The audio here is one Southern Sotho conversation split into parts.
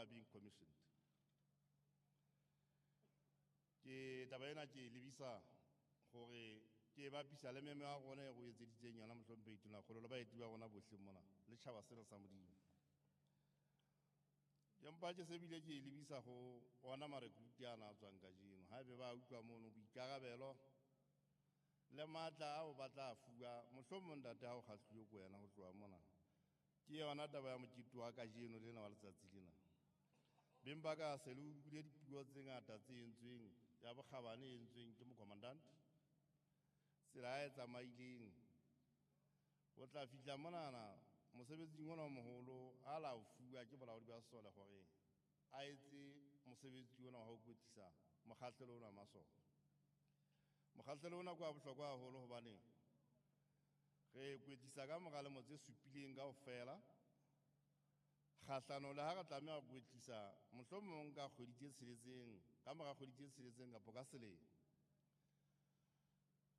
are being commissioned. Ke taba ena ke e lebisa hore ke e bapisa le memo ya rona e re o etseditseng yona Mohlomphehi Tonakgolo le baeti ba rona bohle mona le tjhaba sena sa Modimo. Ke mpa ke se bile ke e lebisa ho ona marekruti ana a tswang kajeno. Haebe ba utlwa mono boikarabelo le matla ao ba tla fuwa, mohlomong ntate ha o kgahluwe ke wena ho tloha mona. Ke yona taba ya mokete wa kajeno lena wa letsatsi lena. Beng ba ka se le utlwile dipuo tse ngata tse entsweng ya bokgabane e entsweng ke mocommandant. Tsela e tsamaileng ho tla fihla monana mosebetsing ona o moholo a la o fuwa ke bolaodi ba sesole hore a etse mosebetsi ona wa ho kwetlisa mokgahlelo ona wa masole. Mokgahlelo ona ke wa bohlokwa haholo hobane re kwetlisa ka mora lemo tse supileng kaofela. Kgahlano le ha re tlameha ho kwetlisa mohlomong ka kgwedi tse tsheletseng, ka mora kgwedi tse tsheletseng kapa ka selemo.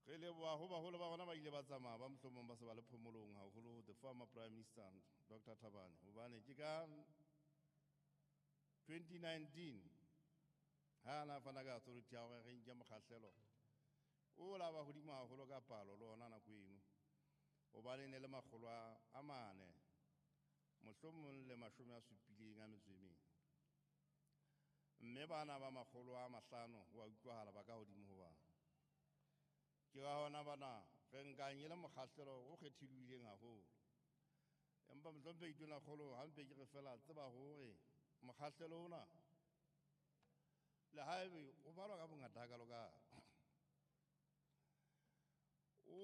Re leboha ho baholo ba rona ba ile ba tsamaya ba mohlomong ba se ba le phomolong haholo the former Prime Minister Dr. Thabane, hobane ke ka 2019 ha na fana ka authority ya hore re nke mokgahlelo o la ba hodimo haholo ka palo le ona nako eno, hobane ne le makgolo a mane mohlomong le mashome a supileng a metso e mene, mme bana ba makgolo a mahlano ho a utlwahala ba ka hodimo ho bana. Ke ka hona bana re nkang e le mokgahlelo o kgethilweng haholo. Empa Mohlomphehi Tonakgolo ha mpe ke re fela tseba hore mokgahlelo ona le haebe o balwa ka bongata hakalo ka o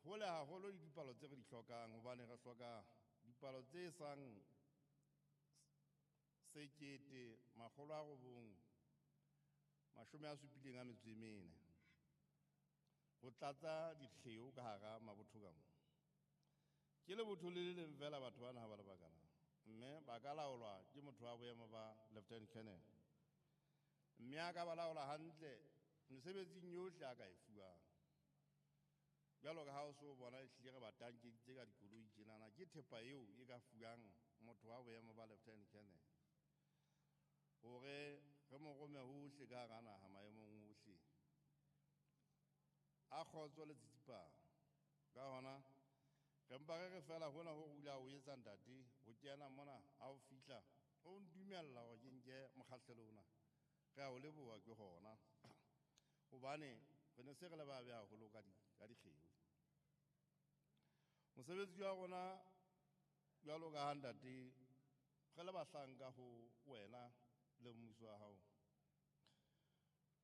hole haholo le dipalo tse re di hlokang, hobane re hloka dipalo tse sang 1974 ho tlatsa dikgeo ka hara mabotho ka moo. Ke lebotho le le leng fela batho bana ha ba le bakana, mme ba ka laolwa ke motho wa boemo ba Lieutenant Colonel, mme a ka ba laola hantle mesebetsing yohle a ka e fuwang. Jwalo ka ha o so bona ehlile re ba tankeditse ka dikoloi tjenana, ke thepa eo e ka fuwang motho wa boemo ba Lieutenant Colonel hore re mo rome hohle ka hara naha maemong ohle a kgotso le tsitsipano. Ka hona re mpa re re fela hona ho re o ile a o etsa ntate ho kena mona ha o fihla o ntumella hore ke nke mokgahlelo ona, re a o leboha ke hona, hobane re ne se re le babe haholo ka dikgeo. Mosebetsi wa rona jwalo ka ha ntate re le bahlanka ho wena le mmuso wa hao,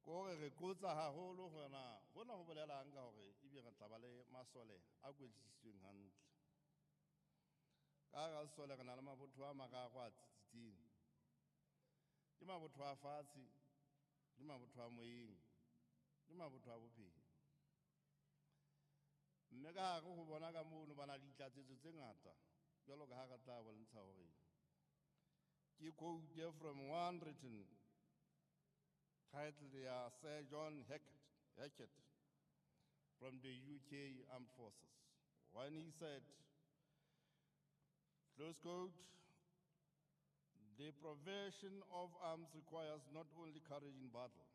ke hore re qotsa haholo hore na hona ho bolelang ka hore ebe re tla ba le masole a kwetlisitsweng hantle. Ka hara sesole re na le mabotho a mararo a tsitsitseng, ke mabotho a fatshe, ke mabotho a moyeng, ke mabotho a bophelo. Mme ka hare ho bona ka mono ba na le ditlatsetso tse ngata, jwalo ka ha re tla bontsha hore ke quote from one written titled ya Sir John Hackett from the UK Armed Forces, when he said, close quote, the provision of arms requires not only courage in battle,